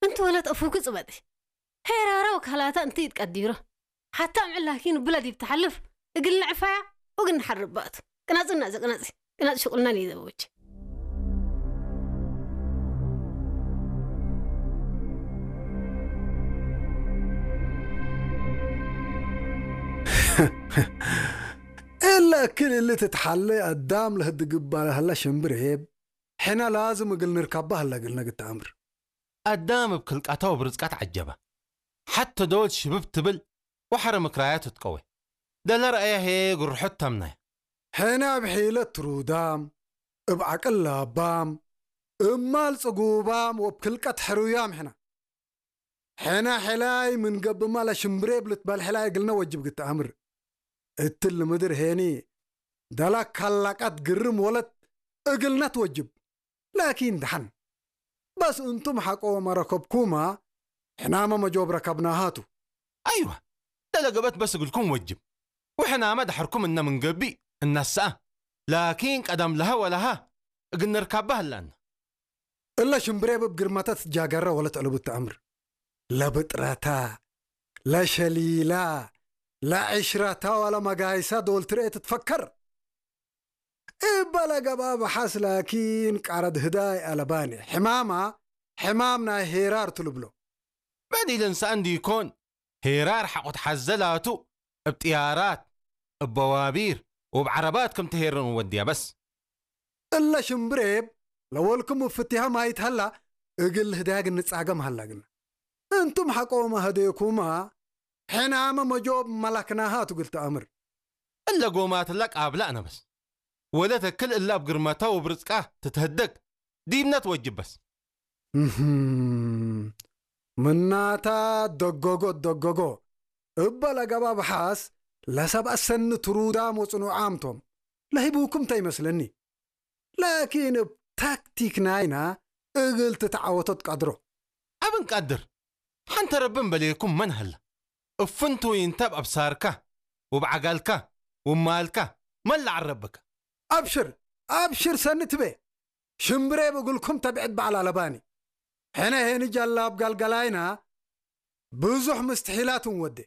እንተ ወለት እፉ ክጽበጥ። ሄራራው ካላታ እንት ይትቀዲሮ። ሓታ ምዕላኪን ብለድ ይብተሓልፍ። እግል ንዕፋያ፣ ወግን ንሓርባቱ። ቅናጽና ዘቅናጽ። ቅናጽ ሽቁልናን ይዘበች። እላ ክል እሊ ትትሓለ ኣዳም ለህድ ግባል ህላ ሽምብር ሄብ። ሕና ላዝም እግል ንርካባ ህላ እግል ነግት ኣምር። ኣዳም እብ ክልቃታው ብርዝቃት ዓጀባ። ሓተ ዶል ሽብብ ትብል ወሐረ ምክራያት ትቀወ። ደለ ረአያ ሄ ግርሑት ታምናያ። ሕና እብ ሒለት ትሩዳም፣ እብ ዓቅል ላባም፣ እማል ጽጉባም ወብ ክልቀት ሕሩያም ሕና። ሕና ሕላይ ምን ገብማ ለሽምብሬብ ልትበል ሕላይ እግልነ ወጅብ ግትኣምር። እትል ምድር ሄኒ፣ ደላ ካላቃት ግርም ወለት እግልነት ወጅብ። ላኪን ደሓን። በስ እንቱም ሓቆ መረከብኩማ፣ ሕናመ መጆብ ረከብናሃቱ። ኣይዋ፣ ደለ ገበት በስ እግልኩም ወጅብ። ወሕናመ ደሐርኩም እነ ምን ገቢእ እነስኣ። ላኪን ቀደም ለሀ ወለሀ እግል ንርካባ ህላና። እለ ሽምብሬብ እብ ግርመተ ትትጃገረ ወለት ዕሉብ ተአምር። ለብጥረታ፣ ለሸሊላ፣ ለዕሽረታ ወለመጋይሳ ዶል ትርኤ ትትፈከር። እበ ለገብአ በሐስ ላኪን ቃረድ ህዳይ አለባኒ። ሕማማ፣ ሕማም ናይ ሄራር ትልብሎ። በዲልን ሰአን ዲኮን፣ ሄራር ሐቆት ሐዘ ላቱ፣ እብ ጥያራት፣ እብ በዋቢር፣ ወእብ ዐረባት ክም ትሄርን ወድያ በስ። እለ ሽምብሬብ ለወልኩም እብ ፍቲሃ ማይት ሀላ፣ እግል ህዳግ እንጻገም ሀላ ግና። እንቱም ሐቆመ ሀዴኩማ፣ ሕናመ መጆብ መላክናሃ ቱ እግል ተአምር። እለ ጎማትላ ቃብላ አነ በስ። ወለ ተክል እላ እብ ግርመታ ወብርዝቃ ትትህደግ ዲብነት ወጅብ በስ። እህም፣ ምናታ ደጎጎ ደጎጎ። እበ ለገባ በሓስ ለሰብአ ሰኒ ትሩዳም ወጽኑዓም ቶም። ለሂቡኩም ተ ይመስለኒ። ላኪን እብ ታክቲክ ናይና እግል ትትዓወቶ ትቀድሮ። አብ እንቀድር፣ ሐንተ ረቢ እምበሌኩም መን ሀለ? እፍንቱ ይንተ እብ አብሳርካ፣ ወእብ ዐጋልካ፣ ወማልካ፣ መን ለዐረብከ? አብሽር፣ አብሽር ሰኒ ትቤ። ሽምብሬብ እግልኩም ተብዕድ በዐል አለባኒ። ሕነ ሄኒ ጃላብ ገልገላይና ብዙሕ ምስትሒላት እንወዴ።